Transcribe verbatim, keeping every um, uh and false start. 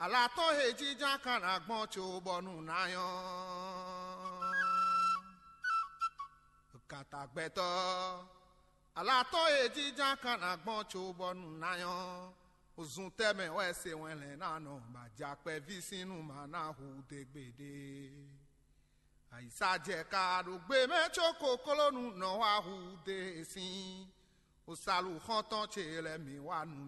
Alǎ tɔn he jínjɔ́n kan ná gbɔn cóbɔ́nú ná nyɔ́. Gǎntagbɛtɔ́, alǎ tɔn he jínjɔ́n kan ná gbɔn cóbɔ́nú ná nyɔ́. Zun tɛ́ mɛ wɛ se wɛn lɛ̌n ná nɔ, bɔ ajakpɛví sín nú ma ná hu dó gbeɖé. Ayǐsá jɛ ka ɖo gbe mɛ có koklónú nɔ wá hu dó e sín. Osalu xɔ́ntɔn ce lɛ́ɛ mǐ wá nu